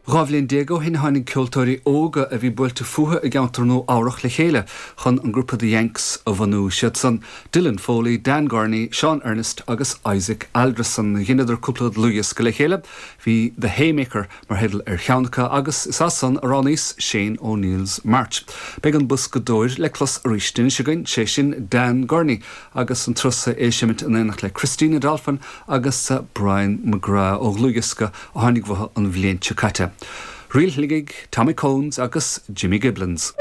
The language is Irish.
12 bhliain ó shin tháinig ceoltóirí óga a bhí buailte fúthu i gceantar Nua Eabhrach le chéile chun an grúpa The Yanks a bhunú. Siad san, Dylan Foley, Dan Gurney, Sean Ernest agus Isaac Alderson. Dheineadar cúpla dlúthdhiosca le chéile. Bhí The Haymaker mar theideal ar cheann acu agus is as san a roghnaíos Shane O'Neill's March. Beidh an boscadóir le clos arís anois againn, sé sin Dan Gurney agus an turas é ag seimint in éineacht le Christina Dolphin agus Brian McGrath ó dhlúthdhiosca a tháinig uathu an bhliain seo caite. Ríl Shligigh, Tommy Cones agus Jimmy Giblins.